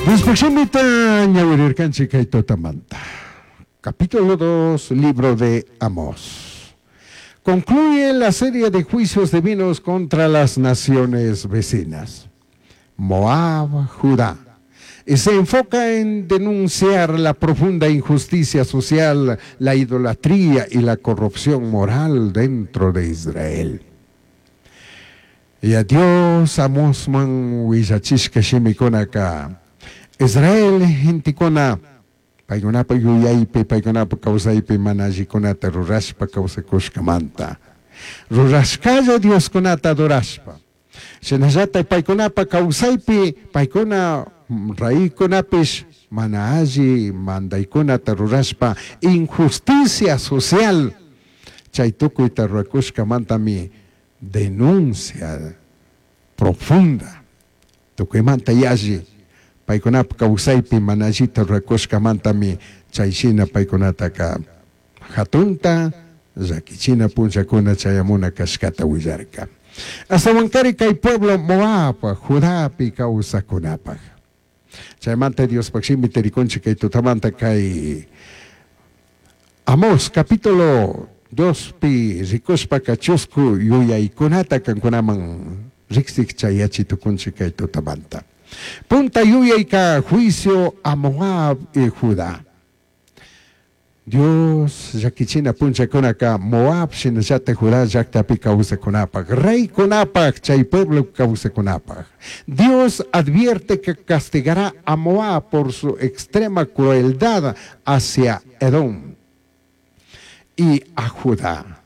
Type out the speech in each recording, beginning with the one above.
Diospaj shimita ñawirirkanchik kay tutamanta. Capítulo 2, libro de Amós. Concluye la serie de juicios divinos contra las naciones vecinas. Moab, Judá. Y se enfoca en denunciar la profunda injusticia social, la idolatría y la corrupción moral dentro de Israel. Yaya Dios Amosman huillachishca shimicunaca, Israel gentecuna paicunapaj yuyaipi, paicunapaj causaipi mana allicunata rurashpa causacushcamanta, rurashcalla dioscunata adorashpa, shinallataj paicunapaj causaipi paicuna reycunapish mana alli mandaicunata rurashpa injusticia social chai tucuita ruracushcamantami denuncia profunda tucuimanta yalli paicunapaj causaipi mana allita ruracushcamantami chai shina paicunataca jatunta llaquichina punllacuna chayamuna cashcata huillarca. Ashtahuancari cai pueblo Moab, Judapi causacunapaj. Chaimanta Diospaj shimita ricunchij cai tutamanta cai Amós capítulo dospi ricushpaca chuscu yuyaicunata cancunaman rijsij chayachi tucunchij cai tutamanta. Punta yuyaica juicio a Moab y Judá. Dios llaquichina punllacunaca Moab shinallataj Judá llajtapi causacunapaj, reycunapaj, chai pueblo causacunapaj. Dios advierte que castigará a Moab por su extrema crueldad hacia Edom y a Judá.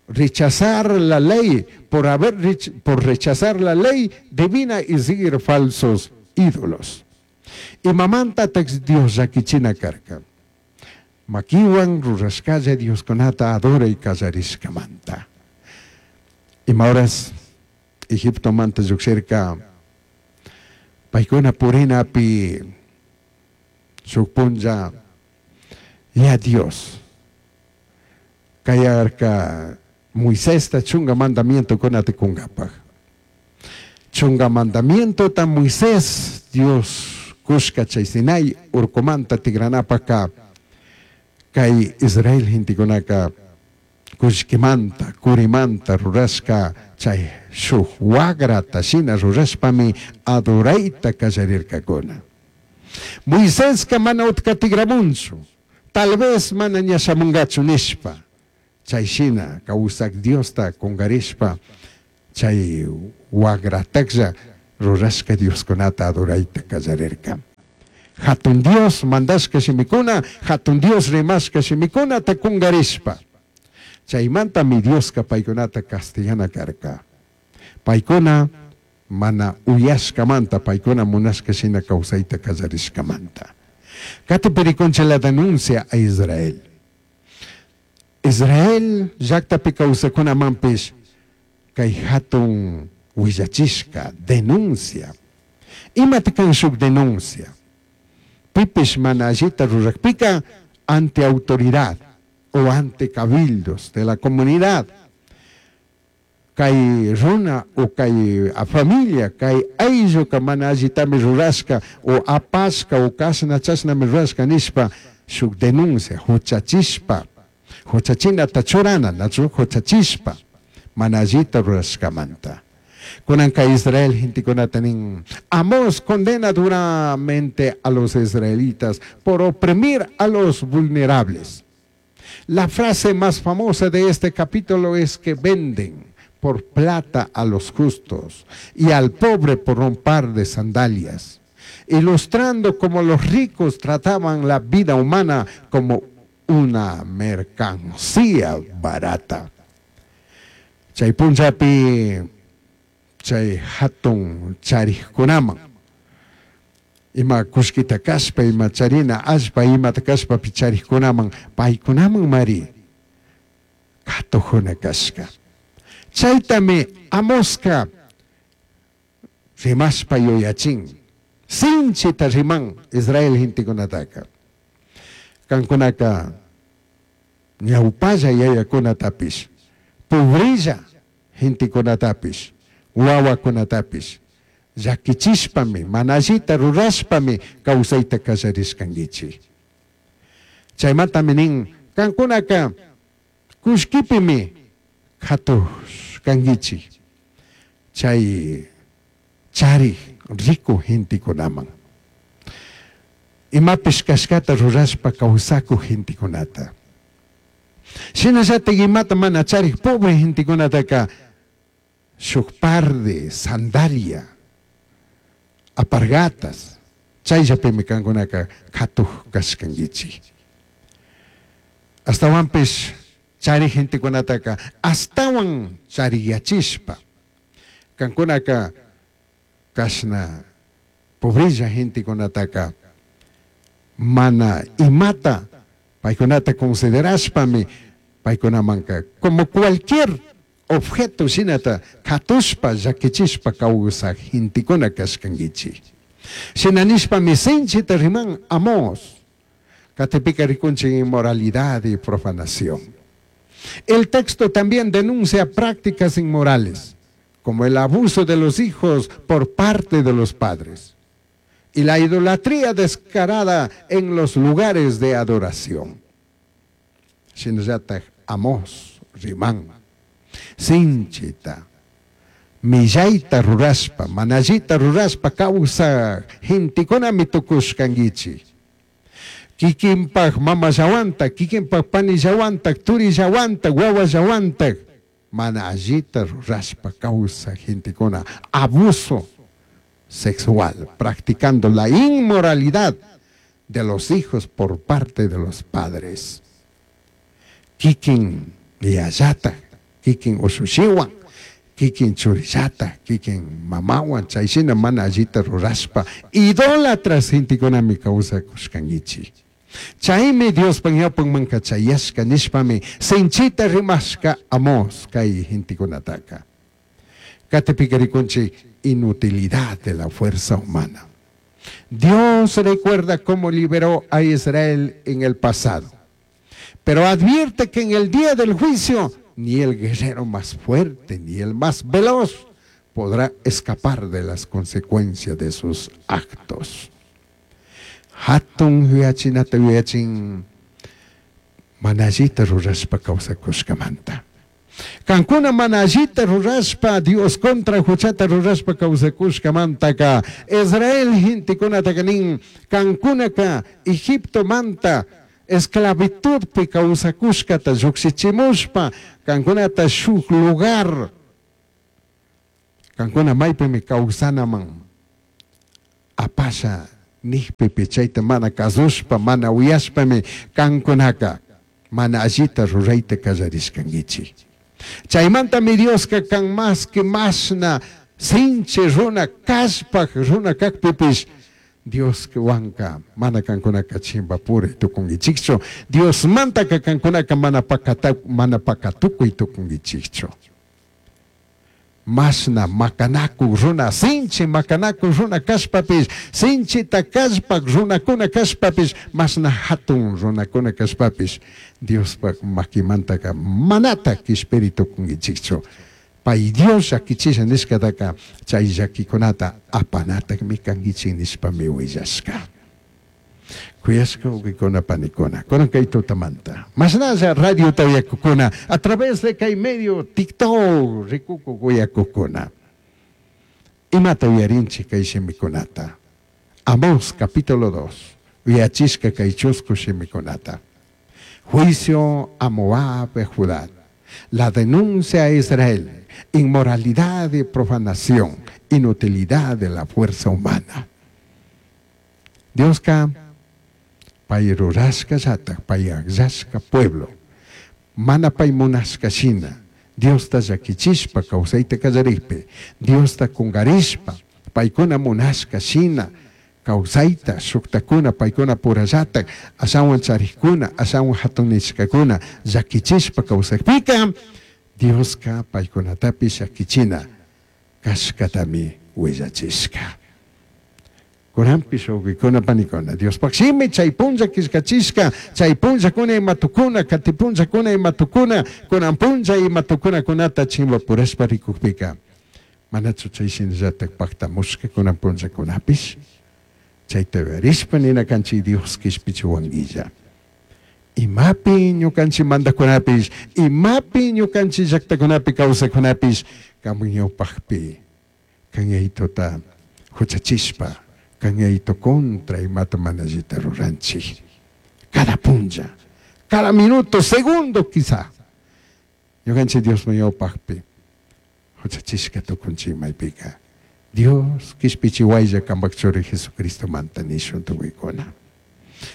Rechazar la ley por haber por rechazar la ley divina y seguir falsos ídolos. Imamantataj Dios llaquichina carca? Maquihuan rurashcalla dioscunata adorai callarishcamanta. Ima horas Egiptomanta llujshirca paicuna purinapi shuj punlla ya Dios cayarca Moisesta chunga mandamientocunata cungapaj. Chunga mandamientota Moisés Dios cushca chay Sinai urcumanta tigranapajca cai Israel gentecunaca cullquimanta, curimanta rurashca chay shuj huagrata shina rurashpami adoraita callarircacuna. Moisesca mana utca tigramunchu, tal vez mana ña shamungachu nishpa, chay shina causaj Diosta cungarishpa chay huagratajlla rurashca dioscunata adoraita callarirca. Jatun Dios mandashca shimicuna, Jatun Dios rimashca shimicunata cungarishpa. Chaimantami Diosca paicunata castigana carca. Paicuna mana uyashcamanta, paicuna munashca shina causaita callarishcamanta. Catipi ricunchij la denuncia a Israel. Israel llajtapi causacunamanpish cai jatun huillachishca denuncia. Imata can shuj denuncia? Pipish mana allita rurajpica ante autoridad o ante cabildos de la comunidad cai runa o cai familia, cai aylluca mana allitami rurashca o apashca o cashna chashnami rurashca nishpa shuj denuncia juchachishpa, juchachinata churana, nachu juchachishpa mana allita rurashcamanta. Cunanca Israel gentecunata nin, Amós condena duramente a los israelitas por oprimir a los vulnerables. La frase más famosa de este capítulo es que venden por plata a los justos y al pobre por un par de sandalias, ilustrando cómo los ricos trataban la vida humana como una mercancía barata. Chay punllapi chay jatun charijcunaman ima cullquita cashpa, ima charina allpa, imata cashpapi charijcunaman paicunaman mari catujuna cashca. Chaitami Amosca rimashpa yuyachin. Sinchita riman Israel gentecunataca. Cancunaca ñaupalla yayacunatapish, pobrella gentecunatapish, huahuacunatapish, Llaquichishpami, mana allita rurashpami causaita callarishcanguichij. Chaimantami nin, cancunaca cullquipimi catushcanguichij. Chai charij rico gentecunaman. Imapish cashcata rurashpa causacuj gentecunata. Shinallataj imata mana charij pobre gentecunataca shuj par de sandalia, alpargatas, chayllapimi cancunaca catuj cashcanguichij. Ashtahuanpish charij gentecunataca ashtahuan charijyachishpa, cancunaca cashna pobrella gentecunataca mana imata paicunata considerashpami paicunamanca como cualquier objeto shinata catushpa llaquichishpa causaj gentecuna cashcanguichij. Shina nishpami sinchita riman Amós. Catipika ricunchij inmoralidad y profanación. El texto también denuncia prácticas inmorales, como el abuso de los hijos por parte de los padres y la idolatría descarada en los lugares de adoración. Shinallataj Amós riman, sinchita, millaita rurashpa, mana allita rurashpa causaj gentecunami tucushcanguichij. Kikinpaj mamallawantaj, kikinpaj panillawantaj, turillawantaj, wawallawantaj, mana allita rurashpa causaj gentecuna, abuso sexual, practicando la inmoralidad de los hijos por parte de los padres. Kikin yayataj, kikin ushushiwan, kikin churillata, kikin mamawan, chayshina mana allita rurashpa, idólatras gentecunami kawsakushkankichik. Chaymi Diospa ñawpanmanka chayashka nishpami sinchita rimashka Amós kay gentecunataka. Katipika rikunchik inutilidad de la fuerza humana. Dios recuerda cómo liberó a Israel en el pasado, pero advierte que en el día del juicio ni el guerrero más fuerte ni el más veloz podrá escapar de las consecuencias de sus actos. Hatun yuyachinata yuyachin mana allita rurashpa kawsakushkamanta. Kankuna mana allita rurashpa, Dios contra huchata rurashpa kawsakushkamantaka, Israel gentekunataka nin, kankunaka Egiptomanta esclavitudpi kawsakushkata llukshichimushpa, kankunata shuk lugar, kankuna maypimi kawsanaman apasha nijpipi chayta mana kasushpa, mana uyashpami kankunaka mana allita rurayta kallarishkankichik. Chaymantami Dioska kan maski mashna sinchi runa kallpak runa kakpipish Dioswanka mana kankunaka chimpapuri tukunkichikchu. Diosmantaka kankunaka mana pakata, mana pakatukuy tukunkichikchu. Mashna makanakuk runa, sinchi makanakuk runa kashpapish, sinchita kallpak runakuna kashpapish, mashna hatun runakuna kashpapish, Diospak makimantaka manatak kishpiri tukunkichikchu. Pay Dios llakichisha nishkataka chay llakikunata apanatakmi kankichik nishpami willashka. Kuyashka wawqikuna panikuna, kunan kay tutamanta, mashnalla radiota uyakukuna, a través de kay medio TikTok rikukuk uyakukuna, imata uyarinchik kay shimikunata? Amós capítulo 2, uyachishka kay chusku shimikunata. Juicio a Moab y Judá, la denuncia a Israel, inmoralidad y profanación, inutilidad de la fuerza humana. Dioska pay rurashkallatak, pay akllashka pueblo, mana pay munashka shina, Diosta llakichishpa kawsayta kallarikpi, Diosta kungarishpa, paykuna munashka shina, kawsayta, shuktakuna, paykuna purallatak, ashawan charikuna, ashawan hatunishkakuna, llakichishpa kawsakpika, Dioska paykunatapish llakichina kashkatami willachishka. Kunanpish wawqikuna panikuna, Diospaj shimi chay punlla killkachishka, chay punllakuna ima tukuna, kati punllakuna ima tukuna, kunan punlla ima tukunakunata chimbapurashpa rikukpika, Manachu chay shinallatak pactamushka kunan punllakunapish? Chayta yuyarishpa nina kanchik Dios kishpichiwanguilla. Imapi ñukanchik mandakunapish, imapi ñukanchik llaktakunapi kawsakunapish, kanpak ñawpakpi kan Yayituta huchachishpa, kan Yayitu contra imata mana allita ruranchik. Cada punlla, cada minuto, segundo quizá. Ñukanchik Diosman ñawpakpi huchachishka tukunchik maypika. Dios kishpichiwaylla kanpak churi Jesucristomanta nishun tukuykuna.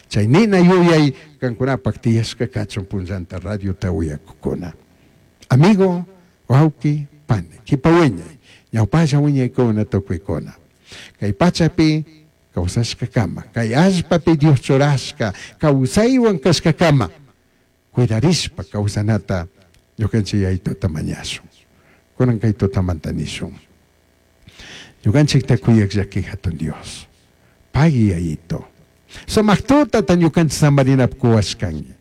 Chay nina yuyay kankunapak tiyashka kachun punllanta radiota uyakukuna. Amigo, wawki, pani, kipa wiñay, ñawpalla wiñaykuna tukuykuna. Kay pachapi kawsashkakama, kay allpapi Dios churashka kawsaywan kashkakama, cuidarishpa kawsanata ñukanchik Yayituta mañashun. Kunan kay tutamanta nishun. Ñukanchikta kuyak llaki hatun Dios. Pagui Yayito. Sumak tutata ñukanchik samarinap kuwashkanki.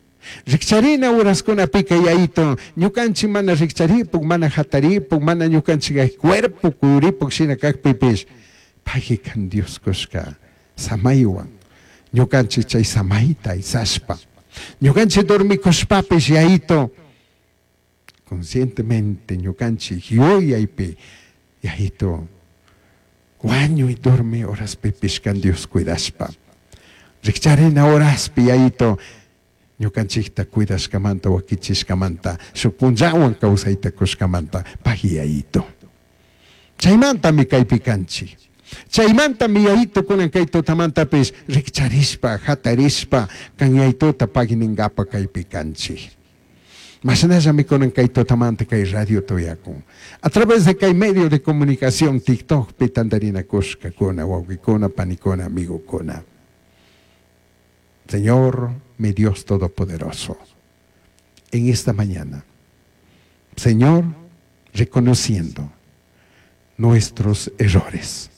Rikcharina uraskunapika Yayito, ñukanchik mana rikcharipuk, mana hataripuk, mana ñukanchik cuerpo kuyuripuk shina kakpipish, pagui kan Dios kushka samaywan, ñukanchik chay samayta aysashpa. Ñukanchik dormikushpapish Yayito, conscientemente ñukanchik yuyaypi Yayito, wañuy dormi horaspipish kan Dios cuidashpa. Rikcharina horaspi Yayito, ñukanchikta cuidashkamanta, wakichishkamanta, shuk punllawan kawsayta kushkamanta, pagui Yayito. Chaymantami kaypi kanchik. Chaymantami Yayito kunan kay tutamantapish rikcharishpa, hatarishpa, kan Yayituta pagui ninkapa kaypi kanchik. Mashnallami kunan kay tutamanta kay radio tuyakun. A través de kay medio de comunicación TikTokpi tantarinakushkakuna, wawqikuna, panikuna, amigokuna. Señor, mi Dios Todopoderoso, en esta mañana, Señor, reconociendo nuestros errores,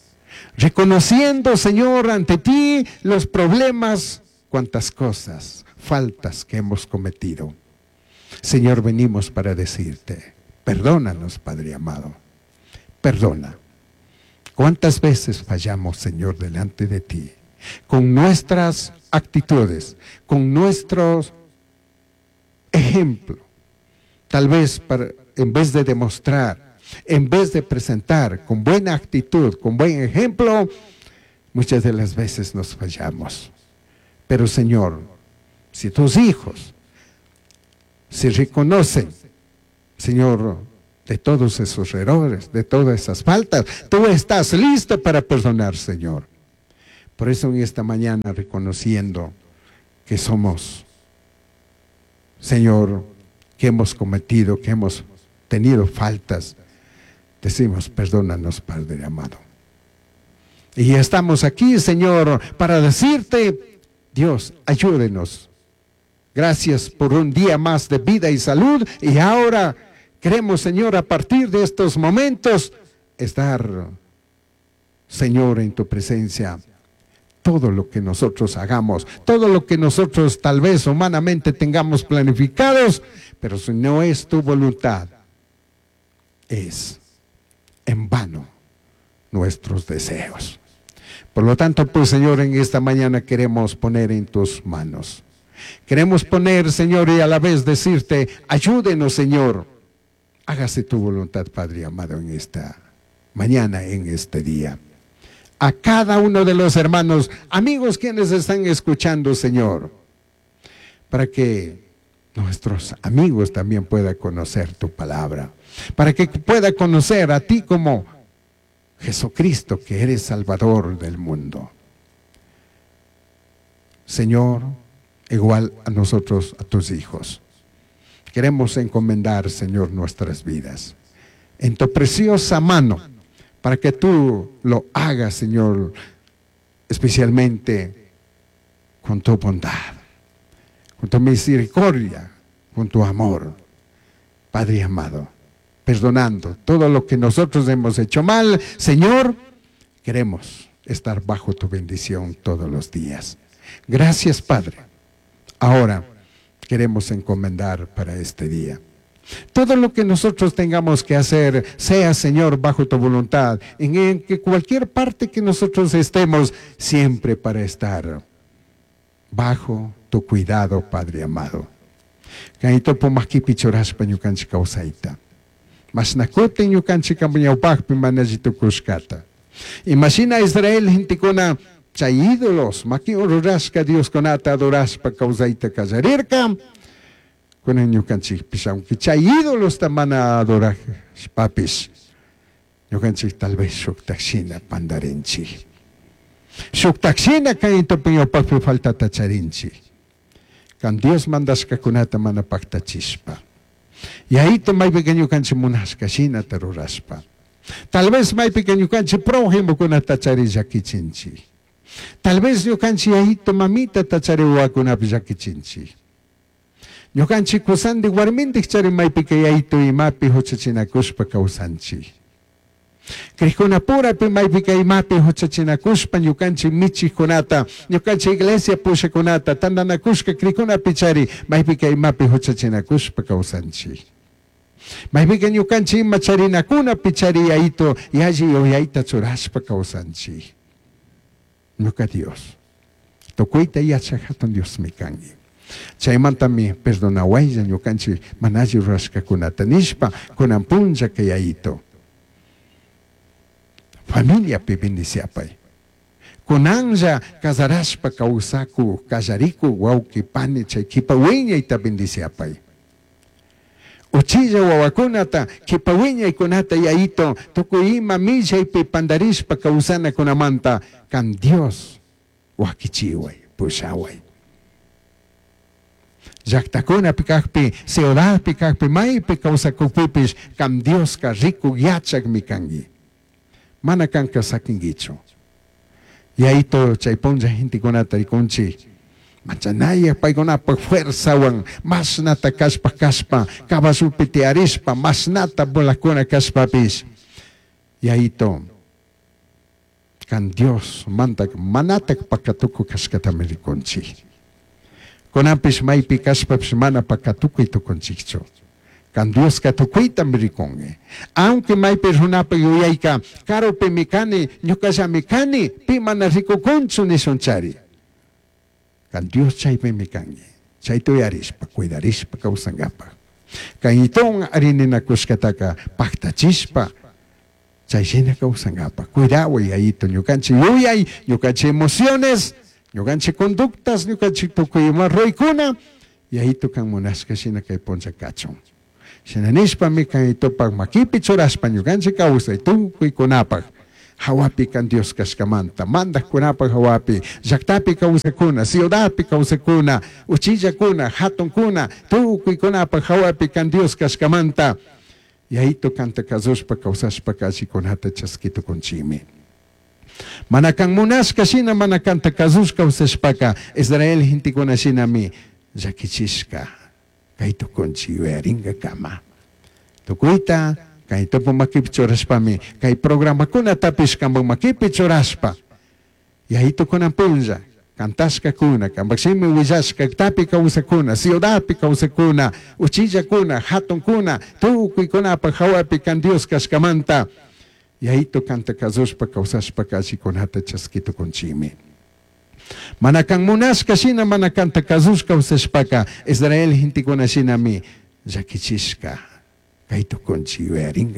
reconociendo, Señor, ante ti los problemas, cuántas cosas, faltas que hemos cometido. Señor, venimos para decirte, perdónanos, Padre amado, perdona. ¿Cuántas veces fallamos, Señor, delante de ti? Con nuestras actitudes, con nuestros ejemplos. Tal vez en vez de demostrar, en vez de presentar con buena actitud, con buen ejemplo, muchas de las veces nos fallamos. Pero, Señor, si tus hijos se reconocen, Señor, de todos esos errores, de todas esas faltas, tú estás listo para perdonar, Señor. Por eso en esta mañana, reconociendo que somos, Señor, que hemos cometido, que hemos tenido faltas, decimos, perdónanos, Padre amado. Y estamos aquí, Señor, para decirte, Dios, ayúdenos. Gracias por un día más de vida y salud. Y ahora queremos, Señor, a partir de estos momentos, estar, Señor, en tu presencia. Todo lo que nosotros hagamos, todo lo que nosotros tal vez humanamente tengamos planificados, pero si no es tu voluntad, es en vano nuestros deseos. Por lo tanto, pues, Señor, en esta mañana queremos poner en tus manos. Queremos poner, Señor, y a la vez decirte, ayúdenos, Señor. Hágase tu voluntad, Padre amado, en esta mañana, en este día. A cada uno de los hermanos, amigos quienes están escuchando, Señor, para que nuestros amigos también puedan conocer tu palabra, para que pueda conocer a ti como Jesucristo, que eres Salvador del mundo. Señor, igual a nosotros, a tus hijos. Queremos encomendar, Señor, nuestras vidas en tu preciosa mano, para que tú lo hagas, Señor, especialmente con tu bondad, con tu misericordia, con tu amor. Padre amado, perdonando todo lo que nosotros hemos hecho mal, Señor, queremos estar bajo tu bendición todos los días. Gracias, Padre. Ahora queremos encomendar para este día. Todo lo que nosotros tengamos que hacer, sea, Señor, bajo tu voluntad, en que cualquier parte que nosotros estemos, siempre para estar bajo tu cuidado, Padre amado. Kaytopo makipi churashpa ñukanchik kawsayta. Mashna kutin ñukanchik ñawpakpi mana alli tukushkata. Imashina Israel gentekuna chay ídolos makiwan rurashka dioskunata adorashpa kawsayta kallarirka, kunan ñukanchikpish aunque chay ídolosta mana adorashpapish ñukanchik tal vez shuktak shina pandarinchik. Shuktak shina kaytopi ñawpakpi faltata charinchik. Kan Dios mandashkakunata mana paktachishpa. Yayito maypika ñukanchik munashka shinata rurashpa. Tal vez maypika ñukanchik prójimokunata chari llakichinchik. Tal vez ñukanchik yayito mamitata chari wawakunapi llakichinchik. Ñukanchik kusandik warmindik chari maypika yayito imapi huchachinakushpa kawsanchik. Crijkunapurapi maypika imapi huchachinakushpa ñukanchik michikkunata, ñukanchik iglesia pushakunata, tantanakushka crijkunapi chari maypika imapi huchachinakushpa kawsanchik. Maypika ñukanchik ima charinakunapi chari yayito yalli yuyayta churashpa kawsanchik. Ñuka Dios, tukuyta yachak hatun Diosmi kanki. Chaymantami perdonawaylla ñukanchik mana alli rurashkakunata nishpa kunan punllaka yayito. Familiapi bendiciapay. Kunanlla casarashpa kawsakuk kallarikuk wawqi pani chay kipa wiñayta bendiciapay. Uchilla wawakunata kipa wiñaykunata yayito tukuy ima millaypi pandarishpa kawsanakunamanta kan Dios wakichiway pushaway. Llaktakunapi kakpi, ciudadpi kakpi, maypi kawsakukpipish kan Dioska rikuk yachakmi kanki. Mana kanka sakinkichu. Yayito chay punlla gentekunata rikunchik. Manchanayaq paykunapak fuerzawan mashnata kashpa kashpa caballopi tiyarishpa mashnata volakuna kashpapish. Yayito kan Dios mantak manatak pakatuku kashkatami rikunchik. Kunanpish maypi kashpapish mana pakatukuy tukunchikchu. Kan Dioska tukuytami rikunki. Aunque maypi runapak yuyayka karupimi kani, ñukallami kani, pi mana rikukunchu nishunchari. Kan Dios chaypimi kanki. Chayta uyarishpa, cuidarishpa kawsankapak. Kayton arininakushkataka paktachishpa chay shina kawsankapak. Cuidaway yayito ñukanchik yuyay, ñukanchik emociones, ñukanchik conductas, ñukanchik tukuy ima ruraykuna, yayito kan munashka shina kay punlla kachun. Shina nishpami kaytopak makipi churashpa ñukanchik kawsay tukuykunapak. Hawapi kan Dios kashkamanta, mandakkunapak hawapi, llaktapi kawsakuna, ciudadpi kawsakuna, uchillakuna, hatunkuna, tukuykunapak hawapi kan Dios kashkamanta, yayito kanta kasushpa kawsashpa allikunata chaskitukunchikmi. Mana kan munashka shina mana kanta kasush kawsashpaka Israel gentekuna shinami llakichishka kay tukunchik yuyarinkakama. Tukuyta kay tupu makipi churashpami kay programakunatapish kanpak makipi churashpa yayito kunan punlla cantashkakuna, kanpak shimi willashkaktapi kawsakuna, ciudadpi kawsakuna, uchillakuna, hatunkuna, tukuykunapak hawapi kan Dios kashkamanta yayito kanta kasushpa kawsashpa allikunata chaskitukunchikmi. Mana kan munashka shina mana kanta kasush kawsashpaka Israel gentekuna shinami llakichishka kay tukunchik yuyarinka.